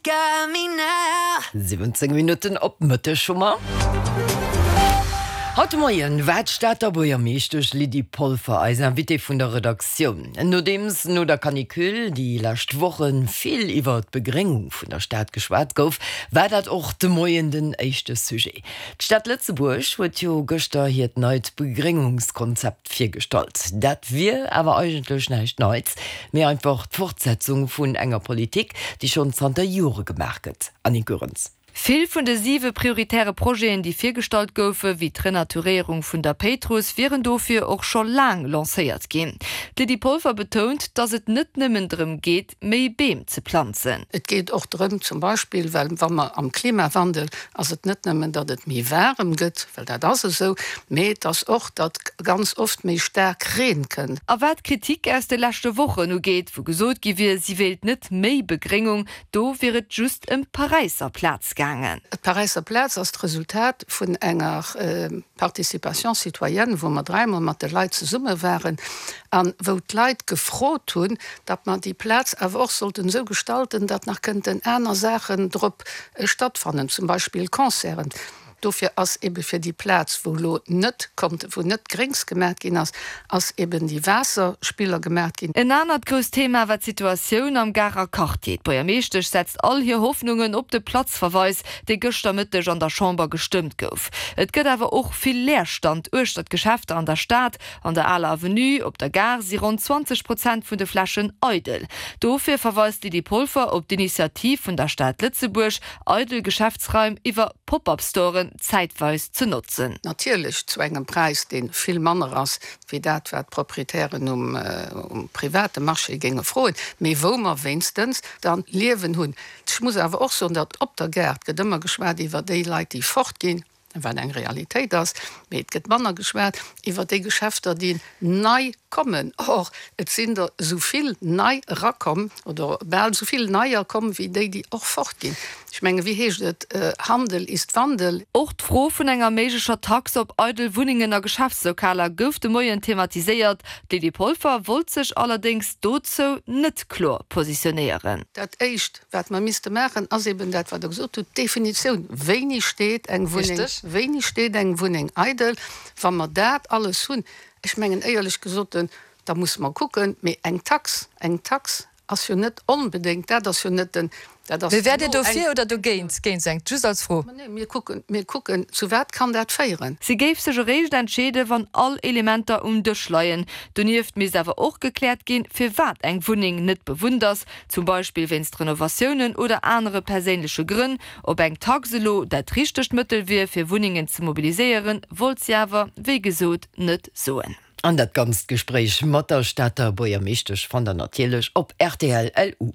Got me now. 17 Minutten op Mëtteg hu mer. Haut de Moien war d'Stater Buergermeeschtesch Lydie Polfer eis Invitée vun der Redaktioun. Nodeems no der Canicule déi lescht Woche vill iwwer d'Begréngung vun der Stad geschwat gouf, war dat och de Moien den éischte Sujet. D'Stad Lëtzebuerg huet jo gëschter hiert neit Begréngungskonzept virgestallt. Dat wier awer eigentlech näischt Neits, mee einfach d'Fortsetzung vun enger Politik, déi schonn zanter Jore gemaach gëtt. Annick Goerens. Vill vun de siwe prioritäre Projeten, déi virgestallt goufen, wéi d'Renaturéierung vun der Péitruss, wieren dofir och scho laang lancéiert ginn. D'Lydie Polfer betount, datt et net nëmmen drëm geet, méi Beem ze planzen. Et geet och drëm, zum Beispill, well wa mer am Klimawandel, ass et net nëmmen, datt et méi waarem gëtt, well dat ass esou, mee et ass och, datt ganz oft méi staark Reen kënnt. A wat d'Kritik aus de leschte Wochen ugeet, wou gesot gi wier, si wéilt net méi Begréngung, Do wier et just ëm d'Paräisser Plaz gaangen. D'Paräisser Plaz ass d'Resultat vun enger Participation citoyenne, wou mer dräimol mat de Leit zesumme waren a wou d'Leit gefrot hunn, datt mer déi Plaz awer och sollten esou gestalten, datt nach kënnten aner Saachen drop stattfannen, zum Beispill Concerten. Dofir ass ebe fir déi Plaz, wou elo net konnt, wou net Gréngs gemaat ginn ass, ass eben déi Waasserspiller gemaat ginn. En anert grousst Thema war d'Situatioun am Garer Quartier. D'Buergermeeschtesch setzt all hir Hoffnungen op de Platzverweis, dee gëschter Mëtteg an der Chamber gestëmmt gouf. Et gëtt awer och vill Leerstand uechter d'Geschäfter an der Stad. An der Aler Avenue, op der Gare, si ronn 20 Prozent vun de Flächen eidel. Dofir verweist d'Lydie Polfer op d'Initiativ vun der Stad Lëtzebuerg, eidel Geschäftsraim iwwer Pop-up-Storen zäitweis ze notzen. Natierlech zu engem Präis, dee vill manner ass wéi dat, wat d'Proprietären um private Marché géinge froen, mee wou mer wéinstens da Liewen hunn. Ech muss awer och soen, datt op der Gare, et gëtt ëmmer geschwat iwwer déi Leit, déi fortginn, wat eng Realitéit ass, mee et gëtt manner geschwat iwwer déi Geschäfter, déi nei kommen. Or, et sinn der esou vill nei erakomm, oder bal esou vill neier komm, wéi déi, déi och fortginn. Ech mengen, wéi heescht et, Handel ist Wandel. Och d'Fro vun enger méiglecher Tax op eidel Wunnengen a Geschäftslokaler gouf de Moien thematiséiert. D'Lydie Polfer wollt sech allerdéngs dozou net kloer positionéieren. Dat Éischt, Wat mer misste maachen, ass eben dat, wat Der gesot hutt, d'Definitioun, Wéini steet eng Wunneng, wéini steet eng Wunneng eidel? Wa mer dat alles hunn, ech mengen, éierlech gesot, da musse mer kucken, mee eng Tax, eng Tax ass jo net onbedéngt, dat ass jo net den, dat ass Mee wäert Dir dofir oder dogéint, géint eng? Just als Fro. Ma nee, mir kucken, mir kucken, zu wat kann dat féieren? Si géif sech eréischt entscheeden, wann all Elementer um Dësch leien. Donieft misst awer och gekläert ginn, firwat eng Wunneng net bewunnt ass, zum Beispill wéinst Renovatiounen oder anere perséinleche Grënn. Ob eng Tax elo dat richtegt Mëttel wier, fir Wunnengen ze mobiliséieren, wollt si awer, wéi gesot, net soen. An dat ganzt Gespréich mat der Stater Buergermeeschtesch fannt der natierlech op rtl. LU.